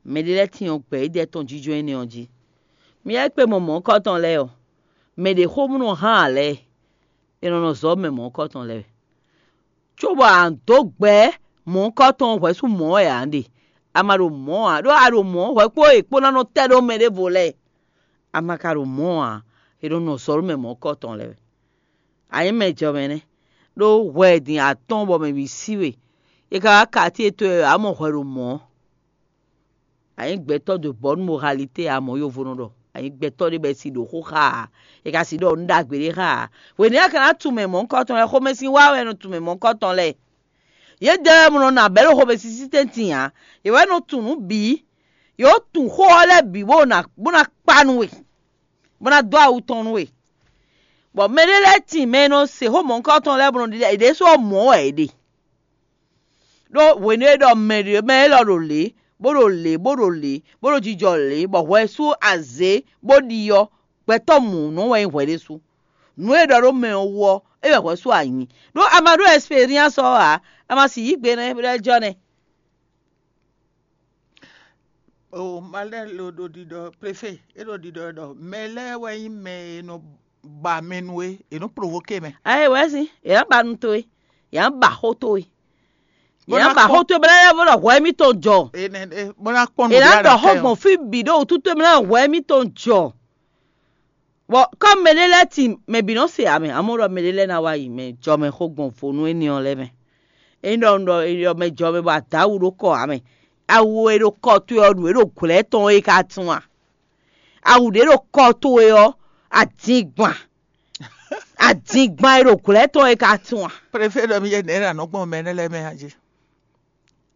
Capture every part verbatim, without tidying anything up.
Mɛ ɖé lɛ́ɛ tyɔ́n gbɛ̌ édɛ́ tɔn jínjɔ́n énɛ́ ɔ́ jí. Mi yá kpé mɔ mɔ̌hunkɔtɔn lɛ́ɛ ɔ́, mɛ ɖě xó nɔ hán ǎ lɛ́ɛ, è nɔ nɔ zɔ̌ mɛ mɔ̌hunkɔtɔn lɛ́ɛ wɛ. Cóbɔ a nǎ dó gbɛ̌ mɔ̌hunkɔtɔn ɔ́ hwɛ̌ sú mɔ̌ wɛ ǎ ɖe. A ma ɖo mɔ̌ ǎ, ɖó a ɖo mɔ̌ hwɛ̌ kpó e kpó ná nɔ tɛ́ ɖó mɛ ɖěvo lɛ́ɛ. A ma ka ɖo mɔ̌ ǎ, è nɔ nɔ zɔ̌ ɖó mɛ mɔ̌hunkɔtɔn lɛ́ɛ wɛ. A nyǐ mɛ jɔmɛ nɛ́, ɖó hwɛ din atɔ́ɔ́n bɔ mɛ bǐ sí we. È ka wá katíe towe wɛ, ǎ mɔ hwɛ ɖo mɔ̌. A nyǐ gbɛtɔ́ de bɔ̌ nú moralité ǎ, mɔ̌ yovo nɔ ɖɔ. A nyǐ gbɛtɔ́ ɖé bɔ è si ɖo xó xá ǎ, è ka si ɖɔ nǔ ɖagbe ɖé xá ǎ. Hwěnɛ́ a ka ná tunwun mɛ mɔ̌hunkɔtɔn lɛ́ɛ, xomɛsin wá wɛ è nɔ tunwun mɛ mɔ̌hunkɔtɔn lɛ́ɛ. Yědɛɛ wɛ mɔ nɔ nɔ abɛ̌ ɖo xomɛsin sín tɛ́ntin ǎ. Yě wɛ nɔ tunwun nǔ bǐ. Yě wǒ tunwun xó ɔ́ lɛ́ɛ bǐ bó ná bó ná kpa nú we, bó ná dó awu tɔn nú we. Bɔ mɛ ɖé lɛ́ɛ tin mɛ e nɔ se xó mɔ̌hunkɔtɔn lɛ́ɛ bó nɔ ɖiɖɔ yě ɖésú ɔ́ mɔ̌ wɛ yě ɖe. Ɖó hwenu e ɖɔ mɛ ɖě mɛ élɔ́ ɖo lě, bó ɖo lě, bó ɖo lě, bó ɖo jijɔ lě, bɔ hwɛ sú azě bó ɖi ɔ́, gbɛtɔ́ mǔnɔ wɛ nyí hwɛ ɖésú. Nǔ e è ɖɔ ɖó mɛ ɔ́ wú ɔ́, é wɛ hwɛ sú a nyǐ. Ɖó a ma ɖó ɛsperiánsi ɔ́ ǎ, a ma si yǐ gbe nɛ́ bó ɖɔ é jɔ nɛ́. O malɛ́ lo ɖo ɖiɖɔ préfé, é ɖo ɖiɖɔ ɖɔ mɛ lɛ́ɛ wɛ nyí mɛ e nɔ ba mɛ nú é, è nɔ provoke mɛ. Ayé wɛ si, è nǎ ba nu towe, è nǎ ba xó towe, è nǎ ba xó towe bó ná yá bó ɖɔ hwɛ émítɔn jɔ. Bó ná kpɔ́n nǔ. È nǎ ɖɔ xó gbɔn fí bǐ ɖó wútu towe bó ná hwɛ émítɔn jɔ. Bɔ kɔ́ mɛ ɖé lɛ́ɛ tin mɛ bǐ nɔ se ǎ mɛ, amɔ̌ ɖɔ mɛ ɖé lɛ́ɛ ná wá yi mɛ jɔmɛ xó gbɔn vo nú énɛ́ ɔ́ lɛ́ɛ mɛ. Ényí ɖɔ un ɖɔ è ɖɔ mɛ jɔmɛ bɔ a dǒ awu ɖó kɔ ǎ mɛ, awu e ɖo kɔ towe ɔ́, nǔ e ɖo glɛ̌ tɔn é ka tún a? Awu ɖě ɖo kɔ towe ɔ́, adingban, adingban e ɖo glɛ̌ tɔn é ka tún a? Préfé ɖɔ mi yɛ nɛ̌ ɖo anɔ̌ gbɔn mɛ énɛ́ lɛ́ɛ mɛ a jí?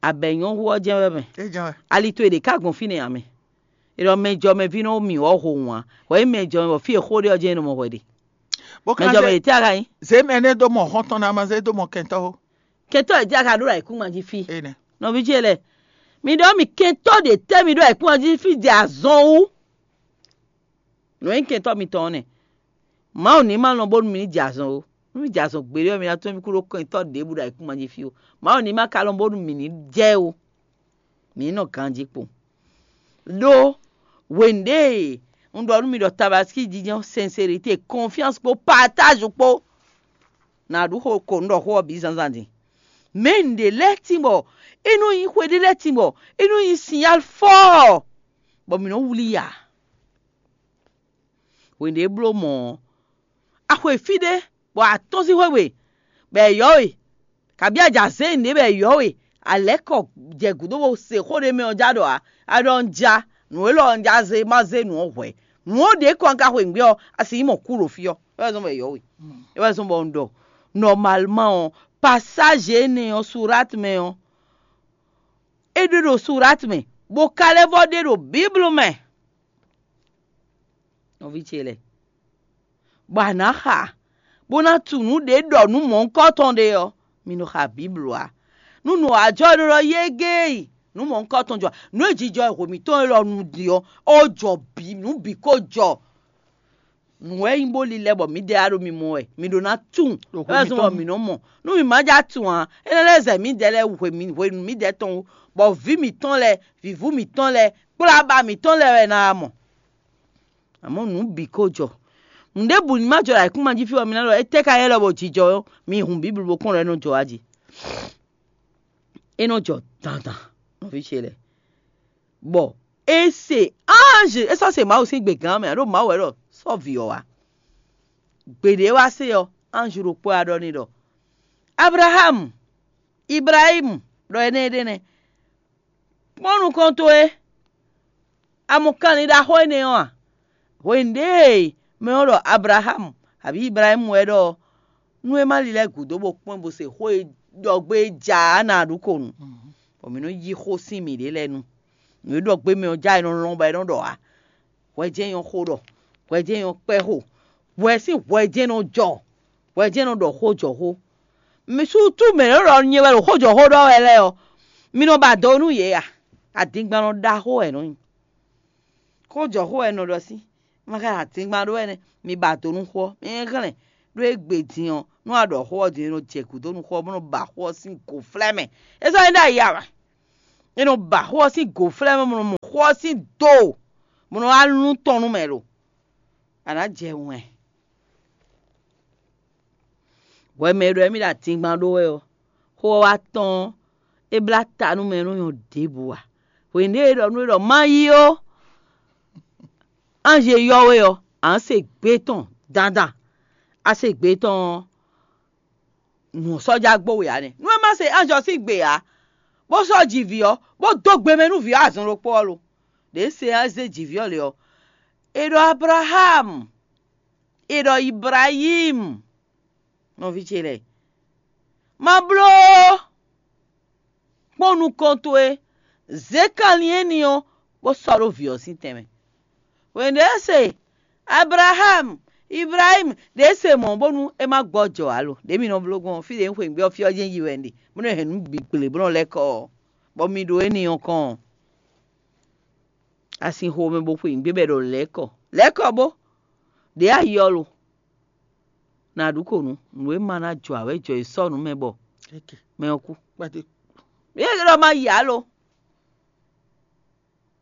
Abɛ nyɔ́ hu ɔ́ jɛ́n wɛ mɛ. É jɛ́n wɛ. Ali towe ɖě ka gbɔn fínɛ́ ǎ mɛ. È ɖɔ mɛ jɔmɛví nɔ mì wɔ ho wǎn. Hwɛ nyí mɛ jɔmɛ bɔ fí e xó ɖe ɔ́ jɛ́n é nɔ mɔ hwɛ ɖe. Bó ka Mɛ jɔmɛ zé ɖě tí a ka nyí? Zě mɛ énɛ́ dó mɔ hɔn tɔn ná ma zé dó mɔ kɛntɔ́ ó. Kɛntɔ́ ɖě tí a ka ɖó ɖo ayǐkúngban jí fí. Énɛ́. Nɔví ce lɛ́ɛ, mi ɖɔ mì kɛntɔ́ ɖě tɛ́ mi ɖó ayǐkúngban jí fí jɛ azɔn wú? Nǔ e nyí kɛntɔ́ mitɔn ɔ́ nɛ́. Mawu ní ma lɔn bónú mi ní jɛ azɔn ó. Nú mi jɛ azɔn gbeɖé ɔ́, mi ná tunwun mì kú ɖó kɛntɔ́ ɖěbǔ ɖo ayǐkúngban jí fí ó. Mawu ní ma ka lɔn bónú mǐ ní jɛ ó. Mǐ ní nɔ ganjí kpowun. Ɖó hwenu ɖě e un ɖɔ nú mi ɖɔ tabaskí jijɛ, sɛnseɖité, kɔnfyánsi kpó patáju kpó, nǎ ɖu xo ko un ɖɔ xó ɔ́ bǐ zǎnzǎn din. Mɛ nǔɖé lɛ́ɛ tín bɔ é nɔ nyí xwe ɖé lɛ́ɛ tín bɔ é nɔ nyí sinyál fɔ́ɔ́, bɔ mǐ nɔ́ wlí i ǎ. Hwenu e é bló mɔ̌ ɔ́, a xwe fí ɖé, bɔ a tɔ́n sín xwé we, bɔ è yɔ̌ we, kabǐ a jɛ azɛ̌ nǔɖé bɔ è yɔ̌ we, a lɛ̌ kɔ jɛ gǔdo bó se xó ɖé mɛ ɔ́ já ɖɔ ǎ, a ɖɔ un ja, nǔ élɔ́ ɔ́ un ja zé ma zé nǔ ɔ́ hwɛ̌. Nǔ ɔ́ ɖě kɔ un ka xweyǐgbe ɔ́, a sixú mɔ kú ɖo fí ɔ́. É wɛ zɔ́n bɔ è yɔ̌ we. É wɛ zɔ́n bɔ un ɖɔ, nɔmalman ɔ́, pasázi énɛ́ ɔ́, Surat mɛ ɔ́, é ɖe ɖo Surat mɛ, bó ka lɛ́ vɔ́ ɖe ɖo Biblu mɛ. Nɔví ce lɛ́ɛ, bɔ a nǎ xa, bó ná tunwun nǔ ɖě ɖɔ nǔ mɔ̌hunkɔtɔn ɖé ɔ́, mi nɔ xa Biblu ǎ. Nú nǔ wá jɔ ɖó ɖɔ yégéyi, nǔ mɔ̌hunkɔtɔn jɔ, nǔ e jijɔ e hwe mǐtɔn élɔ́ nu din ɔ́, é jɔ bǐ, nǔ bǐ ko jɔ. Nǔ wɛ nyí bó lilɛ bɔ mǐdɛɛ wá ɖo mi mɔ wɛ, mi ɖó ná tunwun. Ɖo hwe É wɛ zɔ́n bɔ mǐtɔn mǐ nɔ mɔ. Nú mǐ ma ja tunwun ǎ, é ná lɛ́ zɛ mǐdɛɛ lɛ́ɛ hwe mǐ hwenu mǐdɛɛ tɔn wú, bɔ vǐ mǐtɔn lɛ́ɛ, vǐvú mǐtɔn lɛ́ɛ, kplá aba mǐtɔn lɛ́ɛ wɛ ná wá mɔ. Amɔ̌ nǔ bǐ ko jɔ. Nǔɖébǔ ní ma jɔ ɖo ayǐkúngban jí fí ɔ́, mi ná ɖɔ étɛ́ ka nyí élɔ́ bɔ jijɔ ɔ́, mi hun Bíblu bó kpɔ́n ɖɔ é nɔ jɔ wá jí. É nɔ jɔ dandan, nɔví ce lɛ́ɛ. Bɔ é se anji, é sɔ́ se Mawu sín gbe gǎn mɛ, ɖó Mawu wɛ ɖɔ sɔ́ vǐ ɔ́ wá. Gbe ɖě wá se ɔ́, anji ɖokpó wá ɖɔ n'i ɖɔ: Ablaxámu, Iblahímu, ɖɔ énɛ́ ɖé nɛ́. Kpɔ́n nukɔn towe, a mɔ kanlin ɖaxó énɛ́ ɔ́ a? Hwenu ɖě e mɛ ɔ́ ɖɔ Ablaxámu abǐ Iblahímu wɛ ɖɔ ɔ́, nú é má lilɛ gǔdo bó kpɔ́n bó se xó e ɖɔ gbé é ja ǎ ná ɖu ko nu, bɔ mǐ nɔ yí xó sín mǐɖée lɛ́ɛ nu. Nǔ e ɖɔ gbé mɛ ɔ́ ja é nɔ lɔn bɔ é nɔ ɖɔ ǎ. Hwɛ jɛ́n nyɔ́ xó ɖɔ, hwɛ jɛ́n nyɔ́ kpɛ́ xo, hwɛ sín hwɛ jɛ́n nɔ jɔ, hwɛ jɛ́n nɔ ɖɔ xó jɔ xó. Mi sútú mɛ e nɔ ɖɔ nyɛ wɛ ɖo xó jɔ xó ɖɔ wɛ lɛ́ɛ ɔ́, mi nɔ ba do nú yě a? Adingban nɔ ɖaxó wɛ nɔ nyi. Xó jɔ xó wɛ nɔ ɖɔ sín, ma ka adingban ɖó wɛ nɛ́, mi ba do nú xó ɔ́, mi hɛn hlɛn ɖó égbé din ɔ́, nú a ɖɔ xó ɔ́ din, é nɔ jɛ gǔdo nú xó ɔ́, bó nɔ ba xó ɔ́ sín gǒflɛ́ mɛ. É sɔ́ nyí ɖ'ayǐ ǎ wɛ. É nɔ ba xó ɔ́ sín gǒflɛ́ mɛ, bó nɔ mɔ xó ɔ́ sín do, bó nɔ wá lún tɔn nú mɛ lo. A nǎ jɛ wɛn. Hwɛ mɛ e ɖɔ émí ɖo atingban ɖó wɛ ɔ́, xó ɔ́ wá tɔ́n ɔ́, é blá ta nú mɛ e nɔ nyɔ́ ɖěbǔ ǎ. Hwenu e é ɖɔ nú we ɖɔ má yí ó, anji e ylɔ́ we ɔ́, a nǎ se gbé tɔn dandan. A se gbé tɔn ɔ́, nǔ ɔ́ sɔ́ já gbo we ǎ nɛ́. Nú é má se anji ɔ́ sín gbe ǎ, bó sɔ́ ji vǐ ɔ́, bó dó gbe mɛ nú vǐ ɔ́ azɔn ɖokpó ɔ́ lo. Ɖě se ɔ́ zé ji vǐ ɔ́ lě ɔ́, è ɖɔ Ablaxámu, è ɖɔ Ibrayímu, nɔví ce lɛ́ɛ, ma bló ó. Kpɔ́n nukɔn towe, zě kanlin éní ɔ́, bó sɔ́ ɖó vǐ ɔ́ sín tɛnmɛ. Hwenu e é se Ablaxámu, Iblahímu ɖě se mɔ̌ bónú é má gbɔ jɔ ǎ lo. Ɖě mi nɔ bló gbɔn ɔ́, fí ɖě un xweyǐgbe ɔ́, fí ɔ́ jɛ́n yi wɛ un ɖe, bó nɔ́ hɛn nǔ bǐ gblě bó nɔ́ lɛ́ kɔ ɔ́, bɔ mi ɖo éní ɔ́ kɔn ɔ́, a sin xomɛ bó xweyǐgbe bɔ è ɖɔ lɛ̌ kɔ. Lɛ̌ kɔ bó, ɖě a yi ɔ́ lo. Nǎ ɖu kǒ nú nǔ e ma ná jɔ ǎ wɛ jɔ e sɔ́ nǔ mɛ bɔ mɛ ɔ́ kú. Yě ɖɔ ma yi ǎ lo.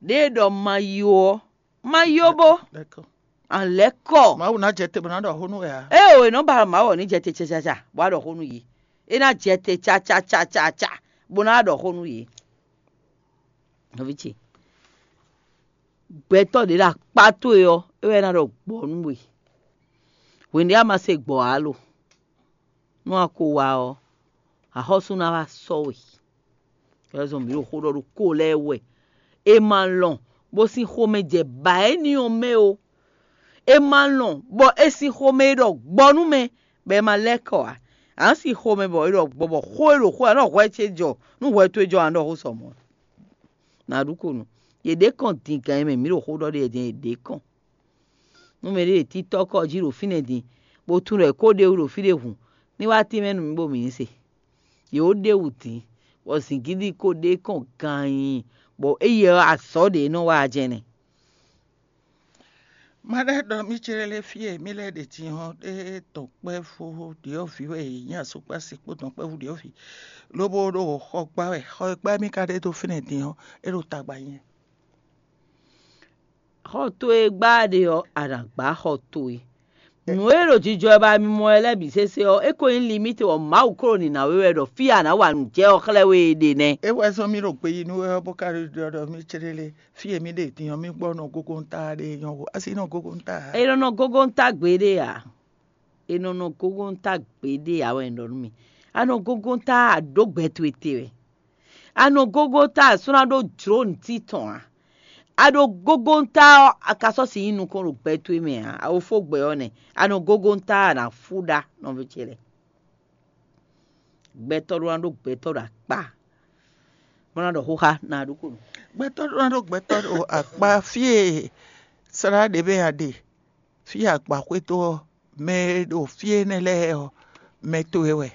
Ɖěe ɖɔ ma yi ó ɔ́, ma yi ó bó. A lɛ́ kɔ. Mawu ná jɛ te bó ná ɖɔ xó nú wɛ ǎ. Ée o, è nɔ ba Mawu ɔ́ ní jɛ te cacaca bó wá ɖɔ xó nú yě. É ná jɛ te cacacacaca bó ná wá ɖɔ xó nú yě. Nɔví ce, gbɛtɔ́ ɖě ɖo akpá towe ɔ́, é wɛ ná ɖɔ gbɔ̌ nú we. Hwenu ɖě a ma se gbɔ̌ ǎ lo. Nú a ko wá ɔ́, axɔ́sú ná wá sɔ́ we. Ɛzɔn mǐ ɖo xó ɖɔ ɖokpó lɛ́ɛ wɛ. È ma lɔn bó sín xomɛ jɛ bǎ éní ɔ́ mɛ ó. È ma lɔn bɔ è sin xomɛ e ɖɔ gbɔ nú mɛ, bɔ è ma lɛ́ kɔ ǎ. A nǎ sin xomɛ bɔ è ɖɔ gbɔ bɔ xó e ɖo xó ɔ́, nɔ hwɛ ce jɔ, nú hwɛ towe jɔ a nɔ ɖɔ xó sɔ mɔ̌. Nǎ ɖu ko nú yě ɖě kɔn din gan e mɛ mǐ ɖo xó ɖɔ ɖe din é ɖě kɔn. Nú mɛɖé ɖe títɔ́ kɔ jí ɖo fínɛ́ din, bó tunwun ɖɔ è ko ɖ'é wú ɖo fí ɖé hǔn, ní wá tínmɛ nú mì bó mǐ ní se. Yě wǒ ɖ'é wú din, bɔ zǐngídi ko ɖ'é kɔn ganyin, bɔ éyɛ́ ɔ́, azɔ̌ ɖě nɔ wa jɛnɛ. Ma ɖɔ ɖɔ mì céɖélé fí e mì lɛ́ ɖe din ɔ́, é tɔn kpɛ́vú ɖyɔ̌vǐ wɛ è nyí asúkpási kpó tɔn kpɛ́vú ɖyɔ̌vǐ, lobo ɖo xɔ gbá wɛ. Xɔ e gbá mì ka ɖe dó fínɛ́ din ɔ́, é ɖo tagba nyɛ. Xɔ towe gbá ɖe ɔ́, a nǎ gbá xɔ towe. Nǔ e ɖo jijɔ wɛ ba mi mɔ wɛ lɛ́ɛ bǐ sésé ɔ́, é ko nyí limíte bɔ Mawu klo nǐ ná we wɛ ɖɔ fí e a nǎ wa nǔ jɛ ɔ́ xlɛ́ we e ɖe nɛ́. É wɛ zɔ́n mì ɖo gbe yi nú we ɔ́, bó ka ɖɔ ɖɔ mì céɖélé fí e mì ɖe din ɔ́, mì gbɔ nɔ gogo ta ɖe nyɔ́ vo, asi nɔ gogo ta. È nɔ nɔ gogo ta gbeɖé ǎ. È nɔ nɔ gogo ta gbeɖé ǎ wɛ un ɖɔ nú mi. A nɔ gogo ta a ɖǒ gbɛ towe te wɛ. A nɔ gogo ta a sɔ́ ná ɖó jlǒ nǔtí tɔn ǎ. A ɖo gogo ta ɔ́, a ka sɔ́ si nyí nukɔn ɖo gbɛ towe mɛ ǎ. A wo fó gbɛ ɔ́ nɛ́. A nɔ gogo ta a nǎ fú ɖa nɔví ce lɛ́ɛ. Gbɛtɔ́ ɖó ná ɖó gbɛtɔ́ ɖo akpá, bó ná ɖɔ xóxá ná ɖokpónɔ. Gbɛtɔ́ ɖó ná ɖó gbɛtɔ́ ɖo akpá fí e slá ɖě mɛ a ɖe, fí e a gba xwé dó ɔ́, mɛ e ɖo fí énɛ́ lɛ́ɛ ɔ́, mɛ towe wɛ.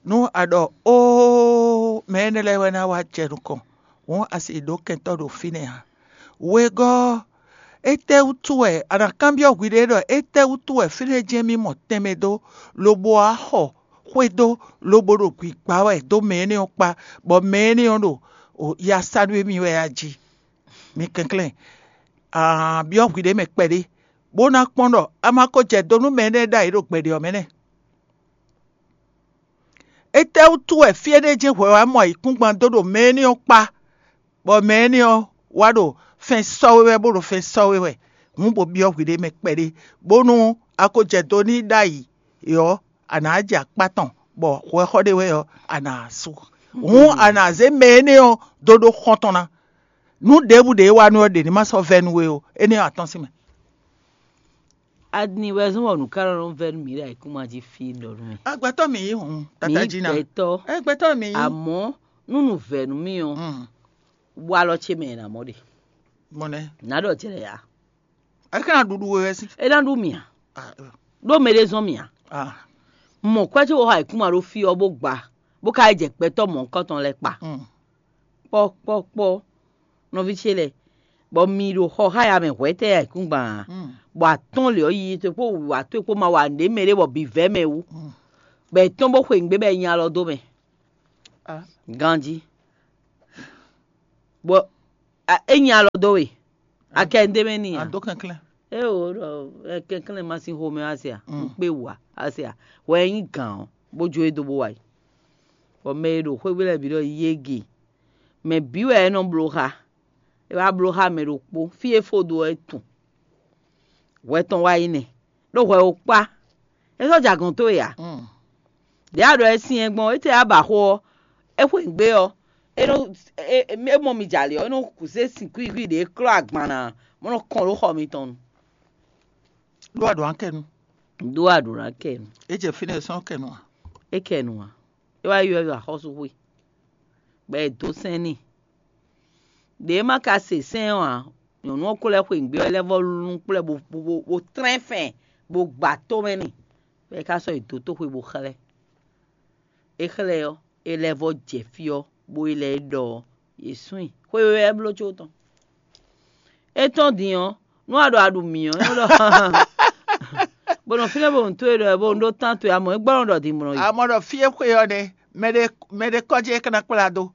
Nú a ɖɔ óo, mɛ énɛ́ lɛ́ɛ wɛ ná wá jɛ nukɔn, hǔn a sixú ɖó kɛntɔ́ ɖo fínɛ́ ǎ. Wegɔ́ ɔ́, étɛ́wútu wɛ a nǎ kanbyɔ́ hwiɖée ɖɔ étɛ́wútu wɛ fínɛ́ jɛ́n mì mɔ tɛnmɛ dó, lobo wá xɔ xwé dó, lobo ɖo gbǐgbá wɛ dó mɛ énɛ́ ɔ́ kpá, bɔ mɛ énɛ́ ɔ́ ɖo ya sa nú émí wɛ a jí? Mi kɛnklɛ́n, a byɔ́ hwiɖée mɛ kpɛɖé, bó ná kpɔ́n ɖɔ a ma ko jɛ do nú mɛ énɛ́ ɖ'ayǐ ɖo gbɛɖe ɔ́ mɛ nɛ́. Étɛ́wútu wɛ fí énɛ́ jɛ́n hwɛ wá mɔ ayǐkúngban dó ɖo mɛ énɛ́ ɔ́ kpá, bɔ mɛ énɛ́ ɔ́ wá ɖo fɛn sɔ́ we wɛ, bó ɖo fɛn sɔ́ we wɛ? Hǔn bo byɔ́ hwiɖée mɛ kpɛɖé, bónú a ko jɛ do n'i ɖ'ayǐ ɔ́, a nǎ jɛ akpá tɔn, bɔ hwɛxɔ ɖé wɛ ɔ́, a nǎ sú. Hǔn a nǎ zé mɛ énɛ́ ɔ́ dó ɖó xɔ́ntɔn ná. Nǔ ɖěbǔ ɖě e wa nú ɔ́ ɖě ní ma sɔ́ vɛ́ nú we ó; énɛ́ ɔ́ a tɔ́n sín mɛ. Adi wɛ zɔ́n bɔ nǔ ka nɔ vɛ́ nú mǐ ɖo ayǐkúngban jí fí ɖɔ nú mì. Agbɛtɔ́ mǐ yí hǔn, tata jí ná. Gbɛtɔ́. Ɛ gbɛtɔ́ mǐ yí. Àmọ́ nú nǔ vɛ́ nú mì ɔ́, walɔ ce mɛ è nǎ mɔ ɖe. Mɔnɛ. Nǎ ɖɔ jlɛ ya. Ɛ ka ná ɖuɖu we wɛ sí. É ná ɖu mì a? Ɖó mɛ ɖé zɔ́n mì a? Mɔ kwɛ́ ce wɔ xá ayǐkúngban ɖó fí ɔ́ bó gba, bó ka yi jɛ gbɛtɔ́ mɔ̌hunkɔtɔn lɛ́ɛ kpa. Kpɔ́ kpɔ́ kpɔ́, nɔví ce lɛ́ɛ, bɔ mi ɖo xɔ xá ya mɛ hwɛ̌tɛ́ ayǐkúngban a? Bɔ atɔ́n lě ɔ́ yiyi towe kpó wǔwá towe kpó ma wa nǔɖé mɛ ɖé bɔ bǐ vɛ́ mɛ wú, bɔ è tɔ́n bó xwe nǔgbé bɔ è nyi alɔ dó mɛ. Ganjí. Bɔ é nyi alɔ dó we, akɛ ɖ'é mɛ n'i ǎ. Ado kɛnklɛ́n. Ée wǒ ɖɔ kɛnklɛ́n ma sín xomɛ wá se a? Un kpé wǔ a? Wá se a? Hwɛ e nyí gǎn ɔ́, bó jó e dó bó wá yi. Bɔ mɛ e ɖo xwé gbe lɛ́ɛ bǐ ɖɔ yége. Mɛ bǐ wɛ é nɔ bló xá. É wá bló xá mɛ ɖokpó, fí e fó dó ɔ́ é tunwun. Hwɛ tɔn wá yi nɛ́, ɖó hwɛ ó kpá. É sɔ́ jɛ agɔ̌n towe ǎ. Ɖěe a ɖɔ é syɛ́n gbɔn, étɛ́ a ba xó ɔ́, é xweyǐgbe ɔ́, é nɔ é mɔ mi jɛ ali ɔ́, é nɔ zé sin kwíkwí ɖě klɔ́ agban ná, bó nɔ kɔn ɖó xɔ mitɔn nu. Ɖó a ɖǒ ná kɛ nu. Ɖó a ɖǒ ná kɛ nu. É jɛ fínɛ́ sɔ́ kɛ nu a? É kɛ nu a? É wá ylɔ́ axɔ́súxwe, bɔ è dǒ sɛn n'i. Ɖě e ma ka se sɛ́n ɔ́ ǎ, nyɔ̌nu ɔ́ ko lɛ́ xweyǐgbe ɔ́, é lɛ́ vɔ́ lún kplɔ́ bó bó bó tlɛ́n fɛn bó gba tó mɛ n'i, bɔ é ka sɔ́ yi dǒ toxwe bó xlɛ́. É xlɛ́ ɔ́, é lɛ́ vɔ́ jɛ fí ɔ́, bó yi lɛ́ ɖɔ ɔ́, yě sún i. Xwe wɛ é bló có tɔn. É tɔ́n din ɔ́, nú a ɖo a ɖu mǐ ɔ́, é nɔ ɖɔ bó nɔ fínɛ́ bó nǔ towe ɖɔ bó nú ɖó tán towe, amɔ̌ é gbɔ́ nɔ ɖɔ din bó nɔ yi. Amɔ ɖɔ fí e xwe ɔ́ nɛ́, mɛɖé mɛɖé kɔ́ jí é ka ná kplá dó.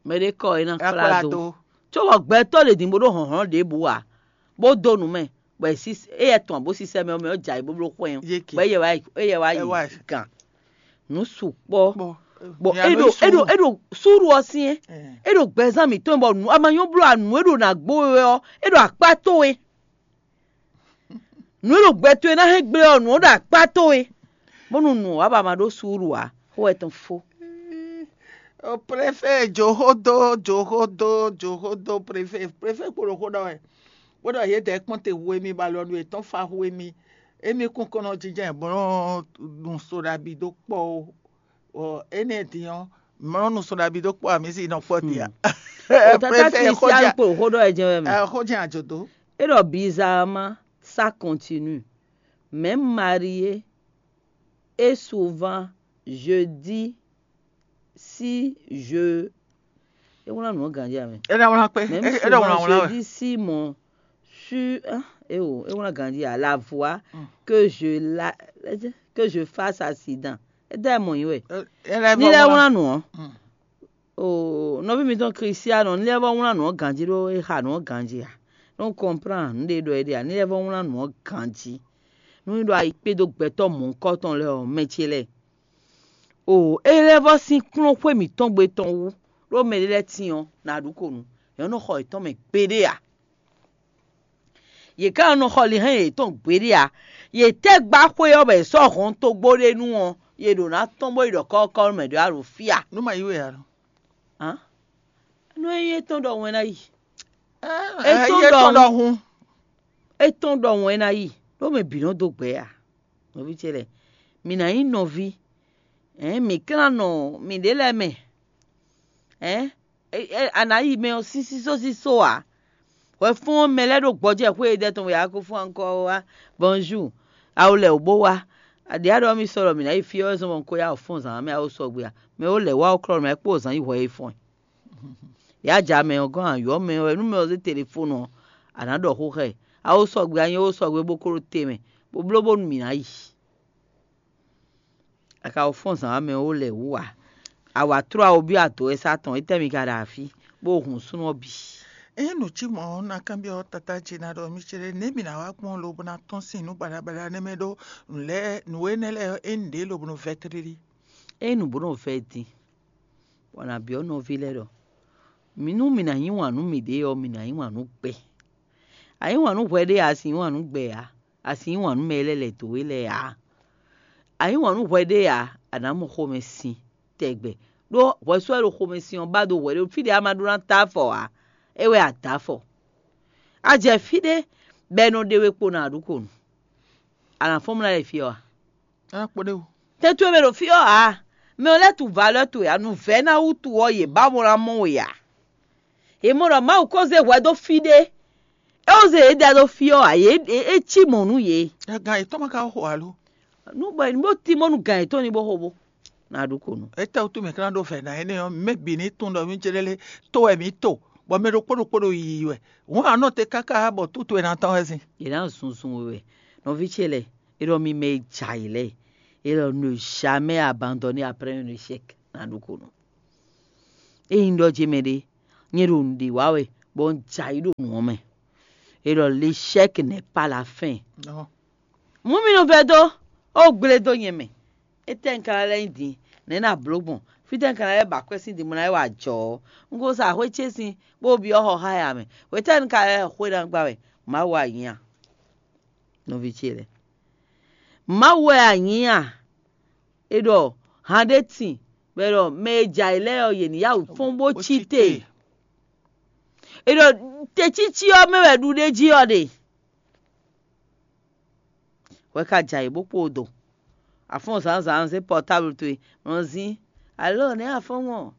Mɛɖé kɔ é ná kplá dó. Có bɔ gbɛtɔ́ ɖě din bó ɖó hlɔ̌nhlɔ́n ɖěbǔ ǎ, bó dó nǔ mɛ, bɔ é yɛ tɔn bó sísɛ mɛ ɔ́ mɛ ɔ́ jɛ ayǐ bó bló xwɛ́n ɔ́, bɔ é yɛ wá yi é yɛ wá yi gǎn. Nǔ sukpɔ́. Bɔ é ɖo é ɖo é ɖo súɖu ɔ́ syɛ́n. É ɖo gbɛzán mǐtɔn bɔ nǔ a ma nyɔ́ bló anǔ e ɖo nǎ gbó we wɛ ɔ́, é ɖo akpá towe. Nǔ e ɖo gbɛ towe ná hɛn gblé ɔ́, nǔ ɔ́ ɖo akpá towe, bónú nǔ ɔ́ wá ba ma ɖó suúlu ǎ, xó wɛ tɔn fó. Préfé jǒxódó jǒxódó jǒxódó préfé préfé kpo ɖo xó ɖɔ wɛ, bó ɖɔ yědɛɛ kpɔ́n te hu émí bɔ alɔnu yětɔn fa hu émí. Émí kún kɔn nɔ jínjɔ́n bó nɔ́ nu so ɖabi dó kpɔ́ ó. Énɛ́ din ɔ́, mlɔ́ nu so ɖabi dó kpɔ́ amǐzi nɔ kpɔ́ din a? Tata Christian kpo xó ɖɔ ɛ jɛ́n wɛ mɛ. Xó jɛ́n àjò dó. É ɖɔ bizarrement, ça continue. Même marié, et souvent, je dis si je é wlán nǔ ɔ́ ganjí amɛ. É ná wlán kpé. Même souvent, je dis si mon sur ah, é o é wlán ganjí à la voix que je la que je fasse accident. É dá ɛ mɔ yín wɛ. Ní lɛ́ wlán nǔ ɔ́. Oo, nɔví mitɔn Kristiano, ní lɛ́ vɔ́ wlán nǔ ɔ́ ganjí ɖó é xa nǔ ɔ́ ganjí a? Nú kɔnplán nǔ ɖé ɖɔ é ɖe a? Ní lɛ́ vɔ́ wlán nǔ ɔ́ ganjí. Nú é ɖo ayi kpédó gbɛtɔ́ mɔ̌hunkɔtɔn lɛ́ɛ ɔ́, mɛ ce lɛ́ɛ. Oo, é lɛ́ vɔ́ sín kplɔ́n xwé mǐtɔn gbe tɔn wú, ɖó mɛ ɖé lɛ́ɛ tín ɔ́, nǎ ɖu ko nǔ. Yě nɔ xɔ yětɔn mɛ gbeɖé ǎ. Yě ká nɔ xɔ linhɛn yětɔn gbeɖé ǎ. Yě tɛ́ gbá xwé ɔ́ bɔ è sɔ́ hɔntogbó ɖé nu ɔ́, yě ɖǒ ná tɔ́n bó yi ɖɔ kɔ́kɔ́ mɛ ɖě wá ɖo fí a? Nú ma yí wɛ ǎ. Hǎn? Nú é nyí étɔn ɖɔhun é ná yi. É tɔn ɖɔhun. É tɔn ɖɔhun é ná yi, ɖó mɛ bǐ nɔ dó gbɛ ǎ. Nɔví ce lɛ́ɛ, mǐ ná nyí nɔví. Ɛ̌n, mǐ klán nɔ mǐɖée lɛ́ɛ mɛ. Ɛ̌n, a nǎ yi mɛ ɔ́ sísí sósísó ǎ. Hwɛfún ɔ́, mɛ lɛ́ɛ ɖo gbɔjɛ́ xwé e dɛ tɔn wɛ a ko fún ankɔ ɔ́ wá. Bonjour, a wo lɛ wǒ bó wá. Aɖě a ɖɔ mì sɔ ɖɔ mǐ ná yi fí ɔ́ wɛ zɔn bɔ un ko yá wǒ fɔ́n zǎn mɛ a wo sɔgbe a? Mɛ ó lɛ̌ wá ó klɔ́ nǔ mɛ kpó zǎn yi hwɛ e fɔ́n ɛ. Yá ja mɛ ɔ́ gɔ́n ayɔ́ mɛ ɔ́ wɛ nú mɛ ɔ́ zé telefónu ɔ́, a nǎ ɖɔ xó xá ɛ. A ó sɔgbe a nyɛ ó sɔgbe bó ko ɖó te mɛ, bó bló bónú mǐ ná yi. A ka wǒ fɔ́n zǎn wá mɛ ó lɛ wǔ ǎ. A wǎ tló awo byɔ́ ado wɛ sá tɔn, étɛ́ mi ka ɖo afí, bó hun súnnu ɔ́ bǐ? Ényí nǔ cí mɔ̌ ɔ́, un ná kanbyɔ́ Tata ce ná ɖɔ mì céɖé nɛ̌ mì ná wá gbɔn lobo ná tɔ́n sín nǔ baɖabaɖa énɛ́ mɛ ɖó nǔ lɛ́ɛ nǔ énɛ́ lɛ́ɛ ɔ́, é nyí nǔɖé lobo nɔ vɛ́ tlílí. Ényí nǔ bó nɔ vɛ́ din, bɔ a nǎ byɔ́ nɔví lɛ́ɛ ɖɔ: mǐ nú mǐ ná yí wǎn nú mǐɖée ɔ́, mǐ ná yí wǎn nú gbɛ. A yí wǎn nú hwɛ ɖé ǎ, a sǐ yí wǎn nú gbɛ ǎ, a sǐ yí wǎn nú mɛ e lɛ́ lɛ̌ dó we lɛ́ɛ ǎ. A yí wǎn nú hwɛ ɖé ǎ, a nǎ mɔ xomɛsin tɛgbɛ. Ɖó hwɛsú wɛ ɖo xomɛsin ɔ́ ba dó hwɛ ɖé fí ɖě a ma ɖó ná ta afɔ ǎ, é wɛ a dǎ afɔ. A jɛ fí ɖé bɔ è nɔ ɖe we kpo nɔ aɖǔ ko nu. A nǎ fɔ́n mlá yi fí ɔ́ a? Tɛ́ towe mɛ ɖo fí ɔ́ ǎ, mɛ ɔ́ lɛ́ tu valeur towe ǎ, nǔvɛ́ná wútu ɔ́ yě ba mɔ ná mɔ we ǎ. Yě mɔ ɖɔ Mawu ko zé hwɛ dó fí ɖé, é wǒ zé yě da dó fí ɔ́ ǎ, yě é cí mɔ̌ nú yě. Gan yětɔn ma ka xo alo? Nú bɔ nú bó tímɔ́ nú gan yětɔn ní bó xo bó. Ná ɖu ko nu. Étɛ́ wútu mǐ ka ná ɖó vɛ̌ ná énɛ́ ɔ́, mɛ bǐ ní tunwun ɖɔ mí céɖé lé tó wɛ mǐ to, bɔ mɛ ɖokpó ɖokpó ɖo yiyi wɛ. Hǔn a nɔ te káká bɔ tútu e ná tɔ́n wɛ zin. Yě ná zunzun we wɛ. Nɔví ce lɛ́ɛ, é ɖɔ mi mɛ e jɛ ayǐ lɛ́ɛ, é ɖɔ ne jamais abandonner après un échec. Ná ɖu ko nu. Ényí un ɖɔ jí mɛɖé, Nyɛ ɖo nǔɖé wa wɛ, bɔ un jɛ ayǐ ɖo nǔ ɔ́ mɛ. E ɖɔ l'échec n'est pas la fin. Mú mi nɔ vɛ́ dó, ó gblé dó nyɛ mɛ. Étɛ́ un ka ná lɛ́ nyi din? Nɛ̌ ná bló gbɔn? Fítɛ́ un ka ná lɛ́ ba akwɛ́ sín din bó ná lɛ́ wa ajɔ ɔ́? Un ko sa xwé ce sín, bó byɔ́ xɔ xá ya mɛ. Hwetɛ́nu un ka lɛ́ xwé ná gbá wɛ? Mawu anyí a? Nɔví ce lɛ́ɛ, Mawu wɛ anyí a? È ɖɔ han ɖé tin, bɔ è ɖɔ mɛ e jɛ ayǐ lɛ́ɛ ɔ́, yě ní yá wǔ fɔ́n bó cí te. È ɖɔ tecící ɔ́ mɛ wɛ ɖuɖéjí ɔ́ ɖe. Hwɛ ka jɛ ayǐ bó kpo do. A fɔ́n zǎnzǎn zé pɔtáblu towe, nɔ zín. Alɔ nɛ̌ a fɔ́n gbɔn?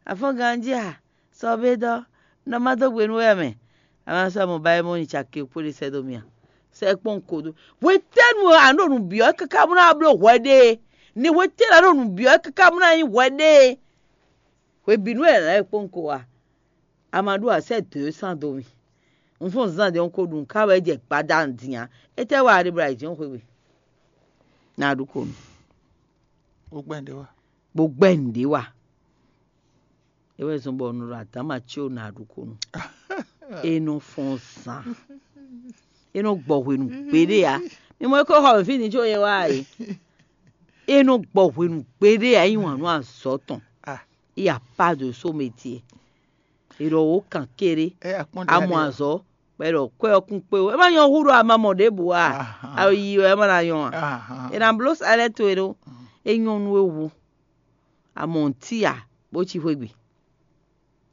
A fɔ́n ganjí a? Sɔ bé dɔ́, nɔ má dó gbe nú wɛ mɛ. A ma sɔ́ mɔ ba é mɔ nyi caki kpó ɖé sɛ́ dó mì a? Sɛ́ kpɔ́n ko dó. Hwetɛ́nu a nɔ ɖo nǔ byɔ́ káká bó ná bló hwɛ ɖé e? Ni hwetɛ́nu a nɔ ɖo nǔ byɔ́ káká bó ná nyí hwɛ ɖé e? Hwebǐnu wɛ è nǎ lɛ́ kpɔ́n ko a? A ma ɖó asɛ dǒ e sán dó mì. Un fɔ́n zán ɖě un ko ɖu nǔ ká wɛ jɛ gbadanu din ǎ. Étɛ́ wa a ɖe bɔ a yi jǐ xwé gbe? Ná ɖu ko nú. Ó gbɛ́ nǔɖé wa. Bó gbɛ́ nǔɖé wa. É wɛ zɔ́n bɔ un ɖo adǎma cí o ná ɖu ko nú. É nɔ fɔ́n zán. É nɔ gbɔ hwenu gbeɖé ǎ. Mi mɔ é kó xɔ mɛ fí ní có yɛ wá e. É nɔ gbɔ hwenu gbeɖé ǎ, yí wǎn nú azɔ̌ tɔn. Il y a pas de sot métier. È ɖɔ wǒ kan kéré. Amɔ azɔ̌, bɔ è ɖɔ kwɛ ɔ́ kún kpé ó. É má nyɔ́ hú ɖɔ a ma mɔ ɖěbǔ a? A yi wɛ é má ná nyɔ́ a? È nǎ bló salɛ́ towe ɖó. É nyɔ́ nú we wu. A mɔ nǔtí a, bó cí xwé gbe.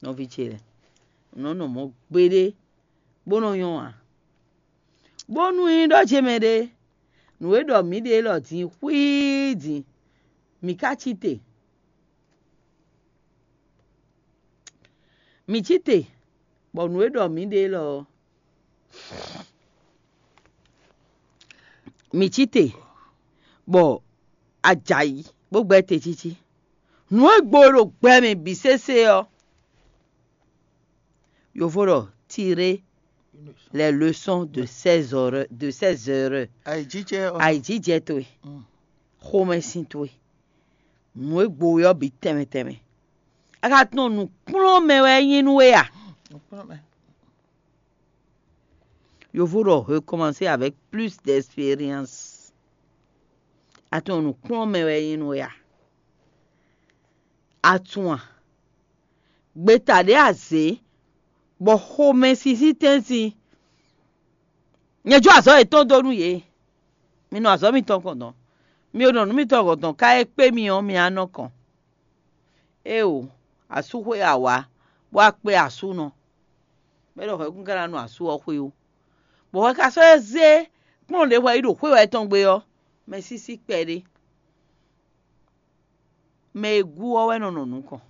Nɔví ce lɛ́ɛ, nǔ nɔ mɔ̌ gbeɖé, bó nɔ nyɔ́ ǎ. Bónú nyí ɖɔ ce mɛ ɖé, nǔ e ɖɔ mǐ ɖe élɔ́ din xwíí din, mǐ ka cí te. Mǐ cí te, bɔ nǔ e ɖɔ mǐ ɖe élɔ́ ɔ́, mǐ cí te, bɔ a jɛ ayǐ bó gbɛ́ te cící. Nǔ e gbo ɖo gbɛ mɛ bǐ sésé ɔ́, yovo ɖɔ tirer les leçons de ces erreurs, de ces erreurs. Ayǐjijɛ ɔ́. Ayǐjijɛ towe, xomɛsin towe, nǔ e gbo we ɔ́ bǐ tɛnmɛ tɛnmɛ. A ka tunɔ nǔkplɔ́nmɛ wɛ é nyí nú we a? Yovo ɖɔ recommencer avec plus d'expérience. A tunɔ nǔkplɔ́nmɛ wɛ é nyí nú we a? A tunwun a? Gbeta ɖě a zě, bɔ xomɛsin sín tɛ́ntin. Nyɛ jó azɔ̌ yětɔn dó nú yě. Mi nɔ azɔ̌ mitɔn kɔn dɔn. Mi e nɔ nǔ mitɔn kɔn dɔn ká é kpé mi ɔ́, mi á nɔ kɔn. Éeǒ, asú xwé a wǎ, bó wá kpé asúnɔ. Mɛ ɖɔ hwɛ̌kún ka ná nɔ asú ɔ́ xwé ó. Bɔ hwɛ ka sɔ́ zé kplɔ́n ɖě hwɛ yi ɖo xwé wɛ tɔn gbe ɔ́, mɛ sísí kpɛɖé. Mɛ e gú ɔ́ wɛ nɔ nɔ nukɔn.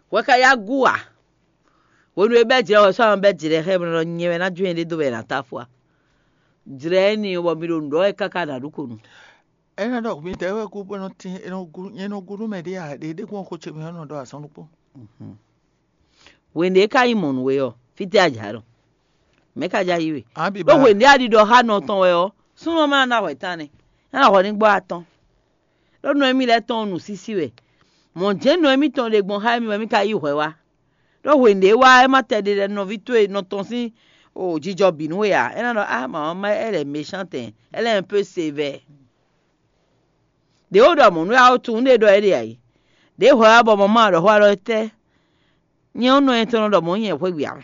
Hwɛ ka yá gú ǎ. Hwenu e bɛ́ jlɛ̌ wɛ sɔ́ ɔ́ bɛ́ jlɛ̌ xá ɛ bɔ nɔ nyɛ wɛ ná jó nyɛɖée dó bɔ è nǎ tá fó a? Jlɛ̌ énɛ́ ɔ́ bɔ mi ɖo nǔ ɖɔ wɛ káká ɖo aɖǔkonu. É nɔ ɖɔ midɛɛ wɛ gú bó nɔ tín, é nɔ gú, nyɛ nɔ gú nú mɛ ɖé ǎ, ɖě ɖé kún xo ce mɛ ɔ́ nɔ ɖɔ azɔn ɖokpó. Hwenu e é ka nyí mɔ̌ nú we ɔ́, fítɛ́ a jǎ ɖɔ? Mɛ̌ ka jǎ yí we? Ɖó hwenu e a ɖiɖɔ xá nɔ tɔn wɛ ɔ́, súnnu ɔ́ ma ná hwɛ tán nɛ́, é ná hwɛ ní gbɔ́ atɔn. Ɖó nɔ émí lɛ́ɛ tɔn nǔsísí wɛ. Mɔ̌ jɛ́n nɔ émítɔn ɖe gbɔn xá émí wɛ émí ka yí hwɛ wá. Ɖó hwenu e é wá, é má tɛ ɖe lɛ́ nɔví towe nɔ tɔn sín o jijɔ bǐ nú we ǎ. É ná ɖɔ á mama, elle est méchante, elle est un peu sévère. Ɖě wó ɖɔ mɔ̌ nú we ǎ, ó tunwun ɖé ɖɔ é ɖe ǎ é. Ɖěe hwɛ wá bɔ mama ɖɔ xó alɔ tɛ́? Nyɛ ɔ́ nɔ nyɛ tɔn nɔ ɖɔ mɔ̌ nyɛ xwé gbe ǎ.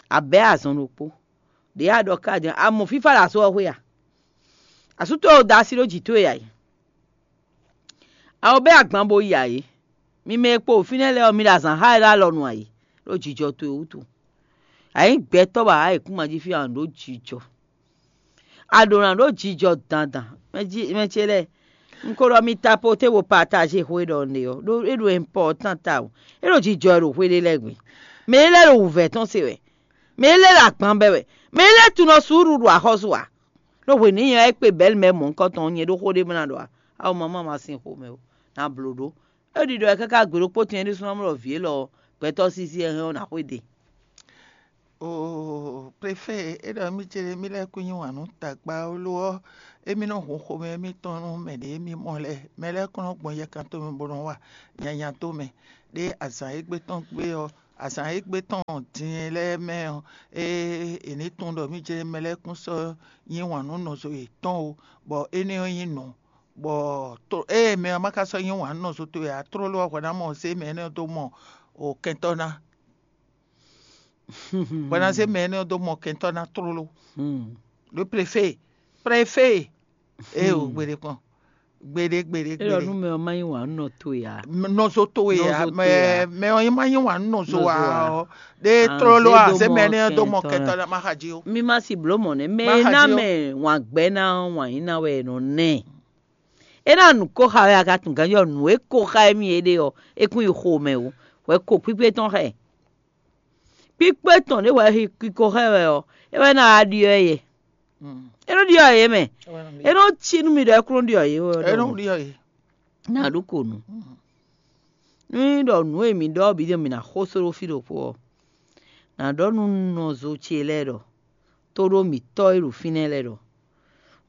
A bɛ̌ azɔn ɖokpó. Ɖě a ɖɔ ká din, a mɔ fífá ɖo asú ɔ́ xwé a? Asú towe da asi ɖó jǐ towe ǎ é. A ko bɛ́ agban bo yi ǎ é. Mi mɛ e kpo fínɛ́ lɛ́ɛ ɔ́, mi ɖo azǎn xá wɛ ɖó alɔ nu ǎ é, ɖó jijɔ towe wútu. A nyǐ gbɛtɔ́ bɔ a wǎ yěkúngban jí fí a nǔ ɖó jijɔ. A ɖǒ ná ɖó jijɔ dandan. Mɛ ce lɛ́ɛ, un ko ɖɔ mi tapoté bo partager xwe ɖɔ un ɖe ɔ́, ɖó é ɖo important tawun. É ɖo jijɔ wɛ ɖo xwe ɖé lɛ́ɛ gbe. Mɛ é lɛ́ɛ ɖo wǔvɛ́ tɔn se wɛ. Mɛ é lɛ́ɛ ɖo agban bɛ́ wɛ. Mɛ é lɛ́ɛ tunɔ suúlu ɖo axɔ́sú ǎ. Ɖó hwenu e nyɛ wá yi kpe Bɛ̌lu mɛ mɔ̌hunkɔtɔn ɔ́, nyɛ ɖó xó ɖé bó ná ɖɔ ǎ. Awo mamá ma sin xomɛ ó, ná bló ɖó. É ɖiɖɔ wɛ káká gbe ɖokpó tɛn é ɖésú ná mɔ ɖɔ vǐ élɔ́ ɔ́, gbɛtɔ́ sísí e hɛn ɔ́ ná xwedó e. Oo, prefet, é ɖɔ mì ce mì lɛ́ kú nyi wǎn nú tagba ó lo ɔ́, émí nɔ hun xomɛ émítɔn nú mɛ ɖě émí mɔ lɛ́ɛ. Mɛ lɛ́ɛ kɔn nɔ gbɔn yɛkan tomɛ bó nɔ wa nyanya tomɛ. ɖé azǎn e gbé tɔn gbé ɔ́, azǎn e gbé tɔn din lɛ́ɛ mɛ ɔ́, ée è ní tunwun ɖɔ mǐ jɛ mɛ lɛ́ɛ kún sɔ́ yí wǎn nú nɔzo yětɔn ó, bɔ énɛ́ ɔ́ nyí nǔ, bɔ ée mɛ ɔ́ ma ka sɔ́ yí wǎn nú nɔzo towe ǎ, tlóló ɔ́ hwɛ ná mɔ zé mɛ énɛ́ ɔ́ dó mɔ kɛntɔ́ ná. Hwɛ ná zé mɛ énɛ́ ɔ́ dó mɔ kɛntɔ́ ná tlóló. Le préfé, préfé, ée o gbeɖé kpɔn, gbeɖé gbeɖé. Élɔ́ nú gbeɖé. Mɛ ɔ́ má nyí wǎn nɔ towe ǎ. Nɔzo towe ǎ. Nɔzo mɛ towe ǎ. Mɛ ɔ́ má nyí wǎn nɔzo ǎ. Nɔzo ǎ. Ɔ́ ɖé Ah, tlóló zé ǎ dó zé mɔ mɛ énɛ́ ɔ́ dó mɔ kɛntɔ́ ná. Kɛntɔ́ ná má xa jí ó. Mi ma si blǒ mɔ̌ nɛ́. Mɛ Má e xa ná jí ó. Mɛ wǎn gbɛ́ ná ɔ́, wǎn yí ná wɛ è nɔ ná ɛ. É ná nǔ ko xa wɛ a ka tunwun ganjí ɔ́, nǔ e ko xa émí é ɖe ɔ́, é kún yi xo mɛ ó. Hwɛ ko kpíkpé tɔn xá ɛ. Kpíkpé tɔn ɖé hwɛ ko xá ɛ wɛ ɔ́, é wɛ ná wá ɖyɔ́ ɛ yɛ. Mm. É nɔ ɖyɔ́ ɛ yě mɛ. É wɛ nɔ ɖyɔ́. É nɔ cí nú mi ɖɔ é kún nɔ ɖyɔ́ yě wɛ É nɔ ɖɔ ɖyɔ́ yé. Ná ɖó ko nǔ. Mm. Nú nyí ɖɔ nǔ e mi ɖɔ ɔ́ bǐ din mi ná xó só ɖó fí ɖokpó ɔ́, nǎ ɖɔ nú nɔzo ce lɛ́ɛ ɖɔ, tóɖó mǐtɔn e ɖo fínɛ́ lɛ́ɛ ɖɔ,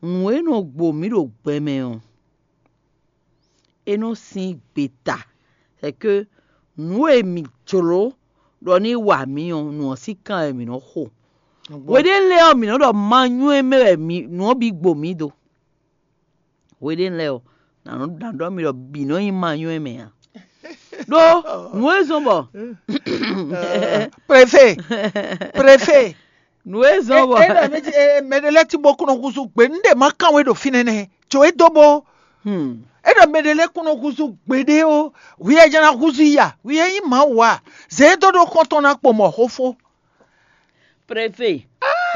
nǔ e nɔ gbo mǐ ɖo gbɛ mɛ ɔ́, é nɔ sín gbeta, c'est que nǔ e mǐ jló ɖɔ ní wa mǐ ɔ́, nǔ ɔ́ sín kan wɛ mǐ nɔ xo. Nǔgbó. Hweɖé lɛ́ɛ ɔ́, mǐ nɔ ɖɔ ma nywɛ́ mɛ wɛ mǐ nǔ ɔ́ bǐ gbo mǐ do. Hweɖé lɛ́ɛ ɔ́, nǎ nɔ nǎ ɖɔ mì ɖɔ bǐ nɔ nyí ma nywɛ́ mɛ ǎ. Ɖó nǔ e zɔ́n bɔ Préfé, préfé. Nǔ e zɔ́n bɔ É ɖɔ mɛ ɖé lɛ́ɛ tí bó kún nɔ húzú gbě, un ɖe má kán we ɖo fínɛ́ nɛ́. Jǒ é dó bó. Hmm. É ɖɔ mɛ ɖé lɛ́ɛ kún nɔ húzú gbeɖé ó, hwi e jɛ ná húzú i a? Hwi e nyí Mawu a? Zě é dó ɖó xɔ́ntɔn ná kpo mɔ xófó. Préfé,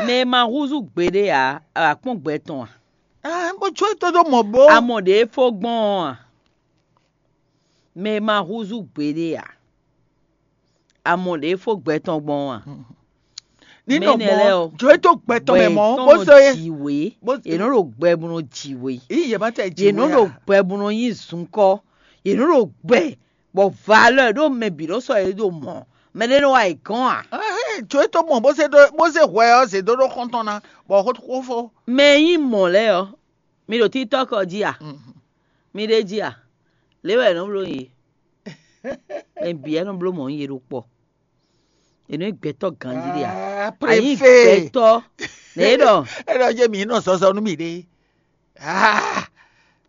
mɛ e ma húzú gbeɖé ǎ, a wǎ kpɔ́n gbɛ tɔn a? Ah, bó jó é dó ɖó mɔ bó. A mɔ ɖě é fó gbɔn ɔ́ a? Mɛ e ma húzú gbeɖé ǎ, a mɔ ɖě é fó gbɛ tɔn gbɔn ɔ́ a? Ní Mɛ nɔ énɛ́ mɔ lɛ́ɛ ɔ́, jó é dó gbɛ tɔn mɛ mɔ, bó zɔ é. Jǐwé, Bó- yě nɔ ɖo gbɛ bó nɔ jǐwé. Yí yě má tɛ Yě jǐwé nɔ ɖo a? Gbɛ bó nɔ nyí zunkɔ́. Yě nɔ ɖo gbɛ bɔ valeur ɖó mɛ bǐ nɔ sɔ́ yě ɖo mɔ̌. Mɛ ɖé nɔ wa yě gɔ́n a? Ahɛn, jó é tó mɔ bó zé ɖó bó zé hwɛ ɔ́ zě dó ɖó xɔ́ntɔn ná, bɔ xó xó fó. Mɛ e nyí mɔ̌ lɛ́ɛ ɔ́, mi ɖo TikTok ɔ́ jí a? Mhm. Mi ɖ'é jí a? Lě wɛ è nɔ bló yě. Mɛ bǐ wɛ nɔ bló mɔ̌ yě ɖo kpɔ. È nɔ nyí gbɛtɔ́ ganjí ɖé a? Ah, A nyí préfé. Gbɛtɔ́. Nɛ̌ é ɖɔ? É ɖɔ jɛ mǐ nɔ zɔzɔ nú mì ɖé. Ah,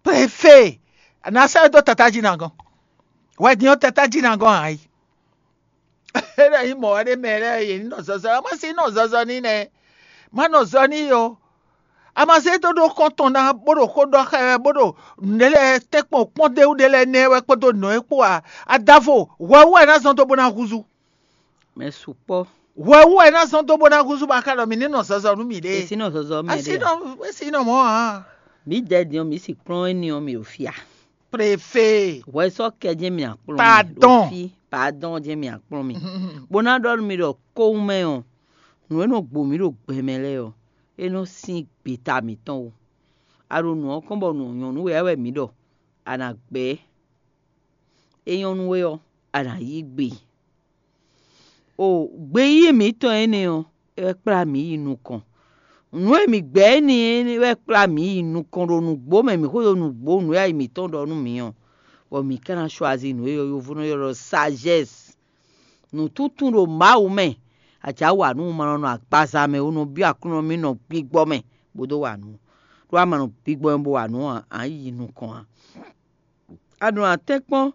préfé. Nǎ sɛ́ dó tatá jí ná gɔn. Wɛ din ɔ́ tatá jí ná gɔn ǎ yi. É ɖɔ nyí mɔ̌ wɛ ɖé mɛ lɛ́ɛ yě ní nɔ zɔzɔ, má sí nɔ zɔzɔ ní nɛ́. Má nɔ zɔ ní yo. A ma zé dó ɖó xɔ́n tɔn ná, bó ɖo xó ɖɔ xá ɛ wɛ, bó ɖo nǔɖé lɛ́ɛ tɛ́nkpɔn kpɔ́n d'é wú ɖé lɛ́ɛ nɛ́ wɛ kpódó nǔ e kpó ǎ. Adavo, hwɛ wú wɛ é ná zɔ́n dó bó ná húzú. Mɛ sukpɔ́. Hwɛ wú wɛ é ná zɔ́n dó bó ná húzú bɔ a ka ɖɔ mǐ ní nɔ zɔzɔ nú mǐɖée. Esi nɔ zɔzɔ mɛ A sí ɖe. Nɔ, é sí nɔ mɔ̌ ǎ. Mǐ dɛ din ɔ́, mǐ si kplɔ́n éní ɔ́, mǐ ɖo fia. Préfé. Hwɛ sɔ́ kɛ jɛ́n mì akplɔ́n mì Pardon. Ɖo fí, pardon jɛ́n mì akplɔ́n mì. Bó ná ɖɔ nú mi ɖɔ kówún mɛ ɔ́, nǔ e nɔ gbo mǐ ɖo gbɛ mɛ lɛ́ɛ ɔ́, é nɔ sín gbeta mǐtɔn ó. A ɖo nǔ ɔ́ kɔn bɔ nǔ ɔ́ nyɔ́ nú we ǎ wɛ mǐ ɖɔ, a nǎ gbɛ́. É nyɔ́ nú we ɔ́, a nǎ yí gbe. O gbeyíyí mǐtɔn énɛ́ ɔ́, é wɛ kplá mǐ yi nukɔn. Nǔ e mǐ gbɛ́ énɛ́ é wɛ kplá mǐ yi nukɔn ɖo nǔgbó mɛ, mǐ xwedó nǔgbó nǔ e ayi mǐtɔn ɖɔ nú mǐ ɔ́, bɔ mǐ ka ná choisir nǔ e yɔ́yɔ́vú nɔ ylɔ́ ɖɔ sagesse. Nǔtúntún ɖo Mawu mɛ, a jǎ wa nú un ma nɔ nɔ agbaza mɛ ó, nɔ byɔ́ Aklúnɔ mì nɔ gbigbɔ mɛ bó dó wa nǔ. Ɖó a ma nɔ gbigbɔ mɛ bó wa nǔ ǎ, a nǎ yi nukɔn ǎ. A ɖǒ ná tɛ́nkpɔ́n,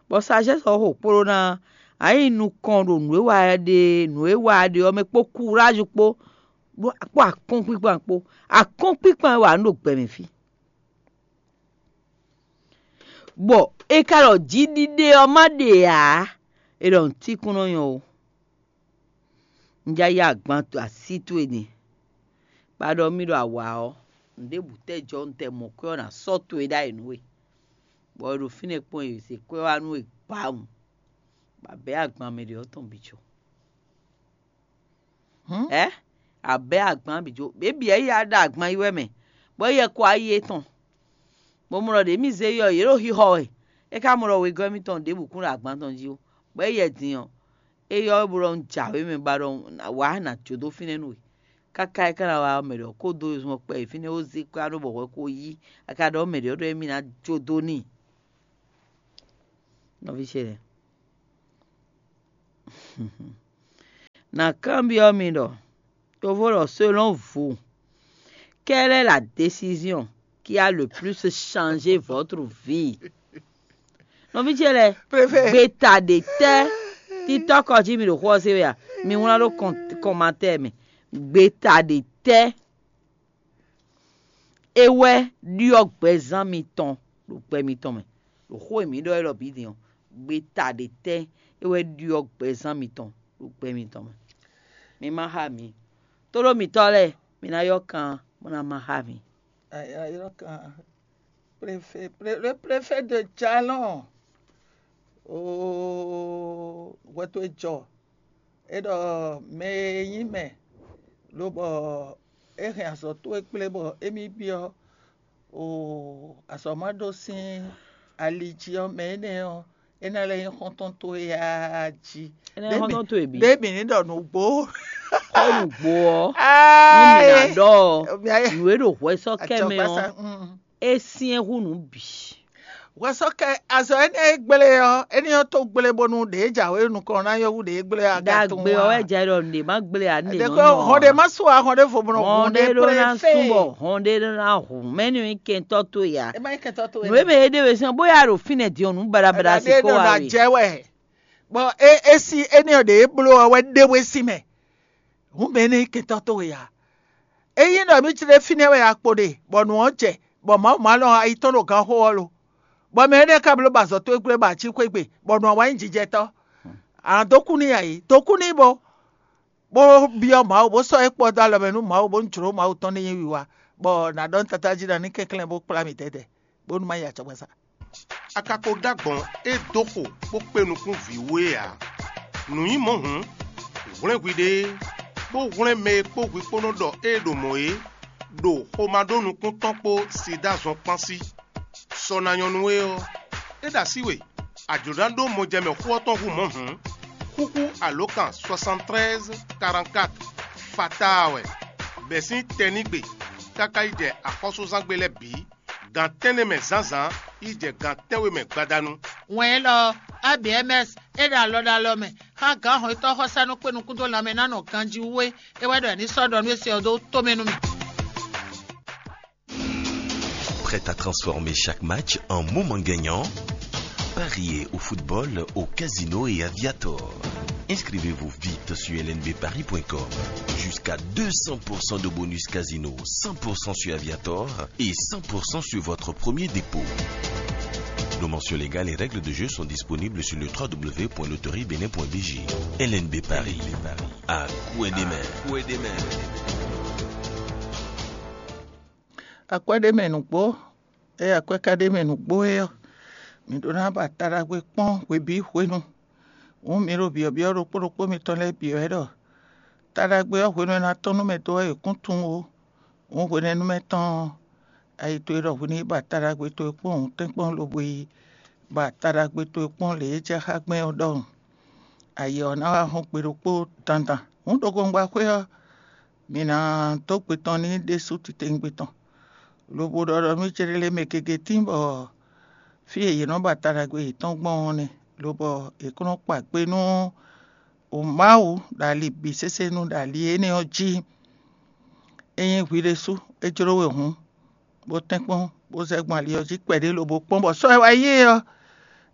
bɔ sagesse ɔ́ xo kpo ɖó ná a nyí nukɔn ɖo nǔ e wa wɛ ɖe nǔ e wa wɛ ɖe ɔ́ mɛ kpó kúráju kpó kpó akɔ́nkpíkpan kpó. Akɔ́nkpíkpan wɛ a nǔ ɖo gbɛ mɛ fí. Bɔ è ka ɖɔ jiɖiɖe ɔ́ má ɖe ǎ, è ɖɔ nǔtíkún nɔ nyɔ́ ó. Un já yá agban así towe din, bó ná ɖɔ mì ɖɔ awǎ ɔ́, nǔɖébǔ tɛ́ jɔ un tɛ mɔ kwɛ́ ɔ́ ná sɔ́ towe ɖ'ayǐ nú we, bɔ è ɖo fínɛ́ kpɔ́n è zě kwɛ́ wá nú we gbawun, bɔ a bɛ̌ agban mɛ ɖě ɔ́ tɔn bǐ jó. Ɛ a bɛ̌ agban bǐ jó, běbí ɛ yá ɖo agban yi wɛ mɛ, bɔ é yɛ kɔ ayi étɔn, bɔ mɔ ɖɔ ɖě mì zé yɔ yě ɖo xixɔ wɛ, é ka mɔ ɖɔ wegɔ́ émítɔn ɖěbǔ kún ɖo agban tɔn jí ó, bɔ é yɛ din ɔ́, é yɔ wɛ bó ɖɔ un jǎwe mɛ ba ɖɔ wǎ nǎ jó dó fínɛ́ nú we. Káká é ka ná wá mɛ ɖɔ kó dó zun ɔ́ kpɛ yi fínɛ́ ó zé kwɛ́ ɖó bɔ hwɛ ko yí, a ka ɖɔ mɛ ɖě ɔ́ ɖɔ émí ná jó dó n'i. Nɔví ce lɛ́ɛ, Na kanbyɔ́ mi ɖɔ, yovo ɖɔ selon vous, quelle est la décision qui a le plus changé votre vie? Nɔví ce lɛ́ɛ, gbeta ɖe tɛ́ titɔ́ kɔ jí mi ɖo xó ɔ́ se wɛ a? Mi wlán ɖó kɔmantɛ́ɛ mɛ. Gbeta ɖe tɛ́ é wɛ ɖyɔ́ gbɛzán mitɔn ɖo gbɛ mitɔn mɛ, ɖo xó e mǐ ɖɔ élɔ́ bǐ din ɔ́, gbeta ɖe tɛ́ é wɛ ɖyɔ́ gbɛzán mitɔn ɖo gbɛ mitɔn mɛ? Mi ma xá mǐ. Tóɖó mǐtɔn lɛ́ɛ, mi ná ylɔ́ kan bó ná ma xá mǐ. Ayɔ́kan, préfé, pré- le préfet de Jalon. Oo, hwɛ towe jɔ. É ɖɔ mɛ e nyí mɛ, lobɔ é hɛn azɔ̌ towe kplé bɔ émí byɔ́ oo, azɔ̌ ma ɖó sín ali jí ɔ́, mɛ énɛ́ ɔ́, é ná lɛ́ nyí xɔ́ntɔn towe aa jí. É ná nyí xɔ́ntɔn towe bǐ. Ɖé mǐ ní ɖɔ nǔgbó. Xɔ nǔgbó ɔ́, nú mǐ ná ɖɔ ɔ́, nǔ e ɖo hwɛ sɔ́ kɛ mɛ ɔ́, é syɛ́n hú nǔ bǐ. Hwɛsɔ́kɛ azɔ̌ énɛ́ e gblé ɔ́, é ní nyɔ́ tó gblé bónú ɖě jǎwe nukɔn ná nyɔ́ hú ɖě gblé ɔ́. Ɖagbe ɔ́ wɛ jɛ ɖɔ nǔɖé má gblé ǎ nú ɖě nɔ. Hɔn ɖě má su ǎ, hɔn ɖěvo mɔ hɔn ɖé ɖó ná sú bɔ hɔn ɖé ɖó ná hu mɛ nú nyí kɛntɔ́ towe ǎ. É má nyí kɛntɔ́ towe. Nǔ e mɛ é ɖe we sín bóyá ɖo fínɛ́ din ɔ́, nǔ baɖabaɖa si kó wá we. Jɛ wɛ. Bɔ é é sí énɛ́ ɔ́ ɖě é bló ɔ́ wɛ ɖé we sín mɛ. Hǔn mɛ énɛ́ nyí kɛntɔ́ towe ǎ. Ényí ɖɔ mǐ jlé fínɛ́ wɛ a kpo ɖe, bɔ nǔ ɔ́ jɛ, bɔ Mawu ma lɔn ayi tɔn ɖo ganxó ɔ́ lo, bɔ mɛ énɛ́ ka bló ba azɔ̌ towe gblé ba ací xwé gbe, bɔ nǔ ɔ́ wá nyí jijɛtɔ́. A nǎ dó kú n'i a yě, dó kú n'i bo, bó byɔ́ Mawu, bó sɔ́ é kpɔ́ dó alɔ mɛ nú Mawu, bónú jlǒ Mawu tɔn ní nyí wiwa, bɔ nǎ ɖɔ nú Tatá jí ɖɔ ní kɛnklɛ́n bó kplá mì dɛ̌dɛ̌, bónú má yi acɔkpɛ́sa. A ka ko ɖó agbɔ̌n e dó xo bó kpé nukún vǐ wú é ǎ. Nǔ nyí mɔ̌ hǔn, hwlɛ́n hwiɖée, bó hwlɛ́n mɛ e kpó hwi kpó nɔ ɖɔ ée ɖo mɔ̌ é, ɖo xomá ɖó nukún tɔn kpó Sidáa zɔn kpán sí. Sɔ ná nyɔ́ nú we ɔ́, é ɖo así we, a jlǒ ná ɖó mɔjɛmɛ xó ɔ́ tɔn hú mɔ̌ hǔn, xúxú alǒkan soixante-treize quarante-quatre fataa wɛ, bɛ̌ sín tɛnígbe káká yi jɛ axɔ́súzángbe lɛ́ɛ bǐ, gan tɛ́nnɛ mɛ zǎnzǎn yi jɛ gan tɛ́nwe mɛ gbadanu. Wɛn élɔ́ ɔ́, A B M S é ɖo alɔ ɖo alɔ mɛ xá gǎn hɔnnyitɔ́ xɔsánú kpé nukún dó lanmɛ ná nɔ ganjí wú é. É wɛ ɖɔ è ní sɔ́ ɖɔ nú é se ɔ́ dó tomɛ nú mì. Prête à transformer chaque match en moment gagnant? Pariez au football, au casino et à Viator. Inscrivez-vous vite sur L N B paris point com. Jusqu'à deux cents pour cent de bonus casino, cent pour cent sur Aviator et cent pour cent sur votre premier dépôt. Nos mentions légales et règles de jeu sont disponibles sur le trois W point loterie bénin point B G. L N B Paris, à coin des mains. Akwɛ́ ɖé mɛ nǔgbó, ée akwɛ́ ka ɖ'é mɛ nǔgbó é ɔ́, mǐ ɖó ná ba ta ɖagbe kpɔ́n hwebǐ hwenu. Hǔn mi ɖo byɔ̌byɔ́ ɖokpó ɖokpó mitɔn lɛ́ɛ byɔ́ wɛ ɖɔ ta ɖagbe ɔ́ hwenu e è nǎ tɔ́n nú mɛ dó ɔ́, è kún tunwun ó. Hǔn hwenɛ́nu mɛ tɔn ɔ́, ayi towe ɖɔ hwi ní yi ba ta ɖagbe towe kpɔ́n hǔntɛ́nkpɔ́n lobo yi ba ta ɖagbe towe kpɔ́n lě e jɛ xá gbɛn ɔ́ ɖɔhun. Ayǐ ɔ́ ná wá hɔn gbe ɖokpó dandan. Hǔn ɖokɔngba xwé ɔ́, mǐ ná dó gbe tɔn n'i ɖésú titewungbe tɔn, lobo ɖɔ ɖɔ nú céɖélé mɛ gěgé tíin bɔ fí e yě nɔ ba ta ɖagbe yětɔn gbɔn ɔ́ nɛ́, lobɔ è kó nɔ kpa kpe nú Mawu ɖo ali bǐ sésé nu ɖo ali énɛ́ ɔ́ jí. Ényí hwi ɖésú é jló we hǔn, bó tɛ́nkpɔ́n, bó zɛ gbɔn ali ɔ́ jí kpɛɖé lobo kpɔ́n bɔ sɔ́ e wá yí é ɔ́,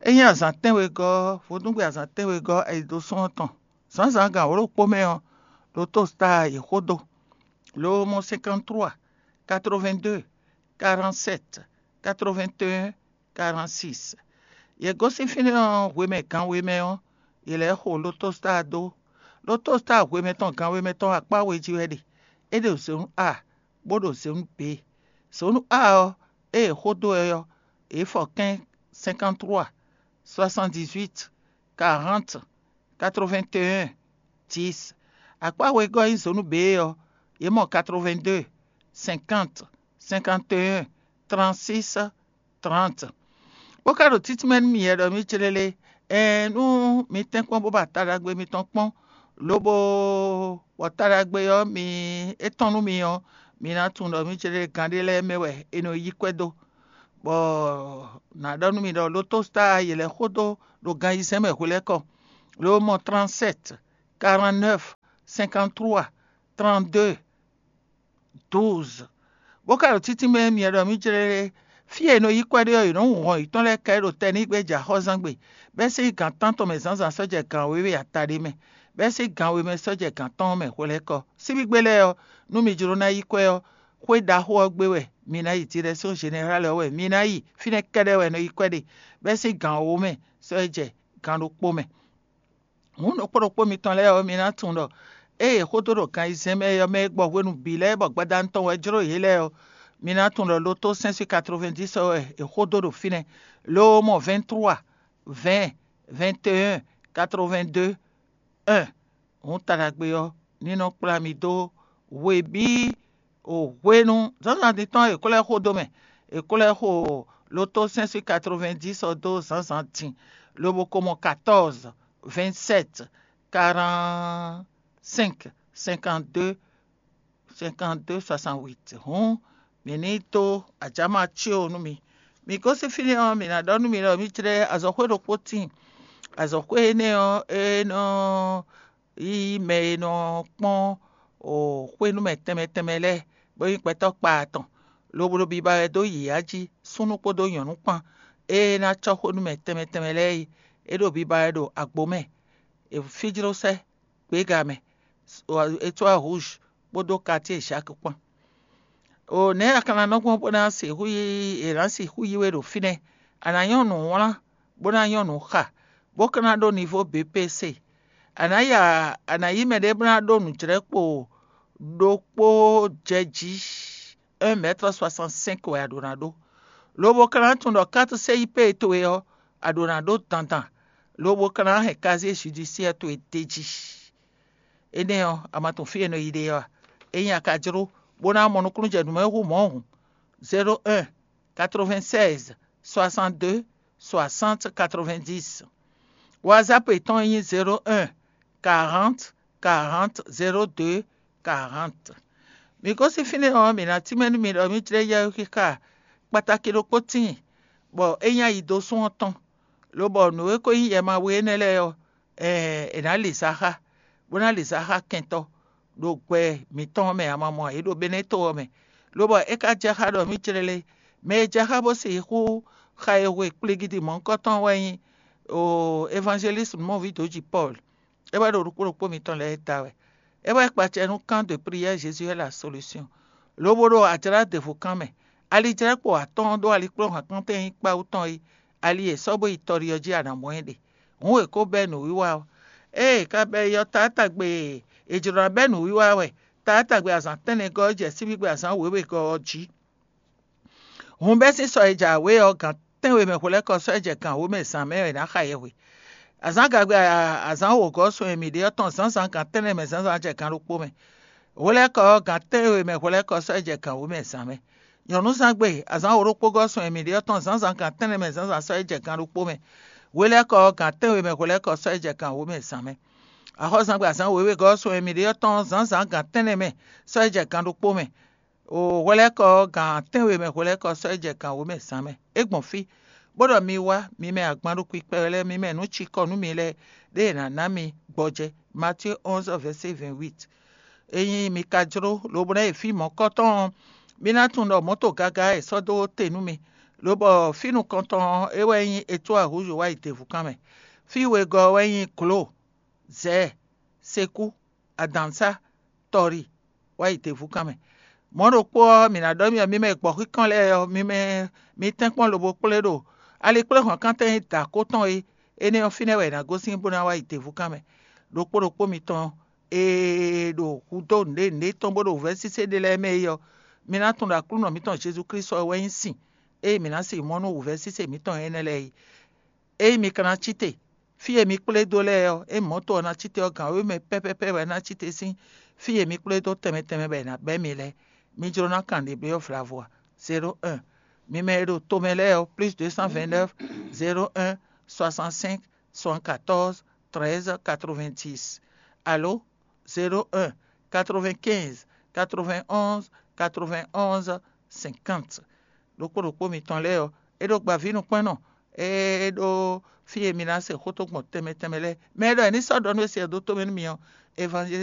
é nyí azǎn tɛ́nwegɔ́, vodúngbe azǎn tɛ́nwegɔ́ ayǐdósún ɔ́ tɔn. Zǎnzǎn gan wǒ ɖokpó mɛ ɔ́, ɖo Tostar yě xó dó. Lo mɔ cinquante-trois, quatre-vingt-deux, quarante-sept, quatre-vingt-un, quarante-six. Yě gosín fínɛ́ ɔ́ hwemɛ gan we mɛ ɔ́, yě lɛ́ xo Lotostar dó. Lotostar hwemɛ tɔn gan we mɛ tɔn akpá we jí wɛ ɖe. É ɖo zǒnu A, bó ɖo zǒnu B. Zǒnu A ɔ́, ée è xó dó ɛ ɔ́, yě fɔ kɛ́n cinquante-trois, soixante-dix-huit, quarante, quatre-vingt-un, dix. Akpá wegɔ́ e nyí zǒnu B ɔ́, yě mɔ quatre-vingt-deux, cinquante, cinquante et un, trente-six, trente. Bó ka ɖo títí mɛ nú miyɛ ɖɔ mí clélé, ɛɛn nú mi tɛ́nkpɔ́n bó ba ta ɖagbe mitɔn kpɔ́n, lobo bɔ ta ɖagbe ɔ́ mi é tɔ́n nú mi ɔ́, mi ná tunwun ɖɔ mí clélé gán ɖé lɛ́ɛ mɛ wɛ è nɔ yí kwɛ́ dó. Bɔ nǎ ɖɔ nú mi ɖɔ Lotostar yě lɛ́ xó dó ɖo gan ayizɛ́n mɛ hwelɛ́kɔ. lo mɔ trente-sept, quarante-neuf, cinquante-trois, trente-deux, douze. Bó ka ɖo títí mɛ myɛ ɖɔ mì jlé lé, fí e è nɔ yí kwɛ́ ɖe ɔ́, è nɔ́ hun hɔn yětɔn lɛ́ɛ kɛ ɖo tɛnígbe jɛ axɔ́zán gbe, bɛ́ sín gǎn tántɔn mɛ zǎnzǎn sɔ́ jɛ gǎn wěwe ataɖé mɛ, bɛ́ sín gǎn we mɛ sɔ́ jɛ gǎn tɔn mɛ hwelɛ́kɔ. Síbígbe lɛ́ɛ ɔ́, nú mi jló ná yí kwɛ́ ɔ́, xwé ɖaxó ɔ́ gbe wɛ mi ná yi, Direction Générale ɔ́ wɛ mi ná yi, fínɛ́ kɛ́ɖɛ́ wɛ è nɔ yí kwɛ́ ɖe, bɛ́ sín gǎn wǒ mɛ sɔ́ yi jɛ gǎn ɖokpó mɛ. Hǔn ɖokpó ɖokpó mitɔn lɛ́ɛ ɔ́, mi ná tunwun ɖɔ ée è xó dó ɖo gan ayizɛ́n mɛ é ɔ́ mɛ é gbɔ hwenu bǐ lɛ́ɛ bɔ gbadanu tɔn wɛ jló yě lɛ́ɛ ɔ́, mi ná tunwun ɖɔ loto cinq cent quatre-vingt-dix ɔ́ wɛ è xó dó ɖo fínɛ́, lo mɔ vingt-trois, vingt, vingt et un, quatre-vingt-deux, un. Hǔn taɖagbe ɔ́ ní nɔ kplá mi dó hwe bǐ o hwenu zǎnzǎn din tɔn e è ko lɛ́ xo dó mɛ. È ko lɛ́ xo loto cinq cent quatre-vingt-dix ɔ́ dó zǎnzǎn din, lobo ko mɔ quatorze, vingt-sept, quarante-cinq, cinquante-deux, cinquante-deux, soixante-huit. Hǔn mǐ ní dó ajǎma cí o nú mi. Mi gosín fínɛ́ ɔ́, mǐ ná ɖɔ nú mi ɖɔ mǐ jlɛ́ azɔ̌xwé ɖokpó tíin. Azɔ̌xwé énɛ́ ɔ́, é nɔ yí mɛ e nɔ kpɔ́n xwénúmɛ tɛnmɛ tɛnmɛ lɛ́ɛ, bó nyí gbɛtɔ́ kpa atɔn, lobo ɖo biba wɛ dó yǐyá jí, súnnu kpódó nyɔ̌nu kpán. Ée é ná cɔ́ xwénúmɛ tɛnmɛ tɛnmɛ lɛ́ɛ é, é ɖo biba wɛ ɖo agbo mɛ, è fíjló sɛ́ gběga mɛ, Étoile Rouge kpódó Quartier Jacques kpán. O nɛ̌ a ka ná nɔ gbɔn bó ná sixú yí è nǎ sixú yí we ɖo fínɛ́? A nǎ nyɔ́ nǔ wlán, bó ná nyɔ́ nǔ xa, bó ka ná ɖó nivo B P C. A nǎ ya a nǎ yí mɛɖé bó ná ɖó nǔjlɛ́kpo ɖokpó jɛ jí, un mètre soixante-cinq wɛ a ɖǒ ná ɖó, lobo ka ná tunwun ɖɔ quatre C I P towe ɔ́, a ɖǒ ná ɖó dandan, lobo ka ná hɛn casier judiciaire towe d'é jí. Énɛ́ ɔ́, a ma tunwun fí e è nɔ yi ɖe ɔ́ a? Ényí a ka jló bó ná mɔ nukúnnú jɛ nǔ mɛ hú mɔ̌ hǔn, zéro un, quatre-vingt-seize, soixante-deux, soixante, quatre-vingt-dix. WhatsApp yětɔn nyí zéro un, quarante, quarante, zéro deux, quarante. Mi gosín fínɛ́ ɔ́, mǐ ná tínmɛ nú mi ɖɔ mǐ jlɛ́ yɛhwexixa kpatáki ɖokpó tíin, bɔ é nyí ayi dó sún ɔ́ tɔn, lobɔ nǔ e ko nyí yɛ ma we énɛ́ lɛ́ɛ ɔ́, è nǎ lǐ zǎ xá, bó ná lǐ zǎ xá kɛntɔ́ ɖo gbɛ mǐtɔn ɔ́ mɛ, a ma mɔ ǎ, é ɖo Benɛ́to ɔ́ mɛ. Lobɔ é ka jɛ xá ɖɔ mǐ clélé, mɛ e jɛ xá bó sixú xa e hwe kplígídi mɔ̌hunkɔtɔn wɛ nyí Evangeliste Mɔ̌vidǒji Pɔ́lu. É wɛ ɖo ɖokpó ɖokpó mitɔn lɛ́ɛ da wɛ. É wɛ kpacɛ nú Camp de prière Jésus est la solution, lobo ɖo ajlá ɖěvo kan mɛ. Alijlɛ́kpo atɔ́ɔ́n ɖó alikplɔ́hɔn kɔntɛn nyí kpawú tɔn é, ali e è sɔ́ bó yi tɔɖi ɔ́ jí a nǎ mɔ ɛ ɖe. Hǔn è ko bɛ́ nǔwiwa ɔ́. Ée è ka bɛ́ yi ɔ́, taátagbe e è jlǒ ná bɛ́ nǔwiwa wɛ, taátagbe azǎn tɛ́nnɛgɔ́ ɔ́ jɛ síbígbe azǎn wěwegɔ́ ɔ́ jí. Hun bɛ́ sín sɔ e jɛ awě ɔ́, gǎn tɛ́nwe mɛ hwelɛ́kɔ sɔ́ ɛ jɛ gǎn wǒ mɛ zǎn mɛ wɛ è nǎ xa yɛhwe. Azǎn gagbe azǎn wǒgɔ́ sun e mǐ ɖe ɔ́ tɔn zǎnzǎn gǎn tɛ́nnɛ mɛ zǎnzǎn jɛ gǎn ɖokpó mɛ. Hwelɛ́kɔ ɔ́, gǎn tɛ́nwe mɛ hwelɛ́kɔ sɔ́ ɛ jɛ gǎn wǒ mɛ zǎn mɛ. Nyɔ̌núzán gbe azǎn wǒ ɖokpó gɔ́ sun e mǐ ɖe ɔ́ tɔn zǎnzǎn gǎn tɛ́nnɛ mɛ zǎnzǎn sɔ́ ɛ jɛ gǎn ɖokpó mɛ. Hwelɛ́kɔ ɔ́, gǎn tɛ́nwe mɛ hwelɛ́kɔ sɔ́ ɛ jɛ gǎn wǒ mɛ zǎn mɛ. Axɔ́zán gbe azǎn wěwegɔ́ sun e mǐ ɖe ɔ́ tɔn zǎnzǎn gǎn tɛ́nnɛ mɛ sɔ́ ɛ jɛ gǎn ɖokpó mɛ. O hwelɛ́kɔ ɔ́, gǎn tɛ́nwe mɛ hwelɛ́kɔ sɔ́ ɛ jɛ gǎn wǒ mɛ zǎn mɛ. É gbɔn fí, bó ɖɔ mi wá, mi mɛ agban ɖo kpikpɛ lɛ́ɛ, mi mɛ nǔ cikɔ nú mi lɛ́ɛ, ɖé è nǎ ná mi gbɔjɛ́. Matíe onze, verset vingt-huit. Ényí mi ka jló, lobo ná yi fí mɔ̌kɔtɔn ɔ́, mi ná tunwun ɖɔ mɔ̌to gaga e è sɔ́ dó te nú mi, lobɔ fí nukɔntɔn ɔ́, é wɛ nyí Étoile Rouge wá yi Devúkan mɛ. Fí wegɔ́ ɔ́ wɛ nyí Glo, Zɛ̌ɛ, Sekú, Adǎnsá, Tɔri, wá yi Devúkan mɛ. Mɔ̌ ɖokpó ɔ́, mǐ ná ɖɔ mi ɔ́, mi mɛ gbɔ̌xíkɔn lɛ́ɛ ɔ́, mi mɛ mi tɛ́nkpɔ́n lobo kplé ɖo alikpléhɔ̌nkántɛn e da akó tɔn é, énɛ́ ɔ́, fínɛ́ wɛ è nǎ gosín bó ná wá yi Devúkan mɛ. Ɖokpó ɖokpó mitɔn e ɖo hudó nǔɖé nǔɖé tɔn bó ɖo wǔvɛ́ sésé ɖé lɛ́ɛ mɛ é ɔ́, mi ná tunwun ɖɔ Aklúnɔ mǐtɔn Jezu Klísu ɔ́ wɛ nyí sin e mǐ ná sin mɔ nú wǔvɛ́ sésé mǐtɔn énɛ́ lɛ́ɛ é. Ényí mi ka ná cí te, fí e mi kplé dó lɛ́ɛ ɔ́, ényí mɔ̌to ɔ́ ná cí te ɔ́, gǎn wěwe mɛ pɛ́pɛ́pɛ́ wɛ ná cí te sín fí e mi kplé dó tɛnmɛ tɛnmɛ wɛ è nǎ bɛ́ mi lɛ́ɛ. Mi jló ná kan ɖě byɔ́ vlavo a? Zéro un. Mi mɛ e ɖo tomɛ lɛ́ɛ ɔ́, plus deux cent vingt-neuf, zéro un, soixante-cinq, soixante-quatorze, treize, quatre-vingt-dix, alo zéro un, quatre-vingt-quinze, quatre-vingt-onze, quatre-vingt-onze, cinquante. Ɖokpó ɖokpó mitɔn lɛ́ɛ ɔ́, é ɖo gbaví nukpɛ́nnɔ, é ɖó fí e mi ná se xó tó gbɔn tɛnmɛ tɛnmɛ lɛ́ɛ. Mɛ e ɖɔ è ní sɔ́ ɖɔ nú we se ɔ́ dó tó mɛ nú mi ɔ́, evangeliste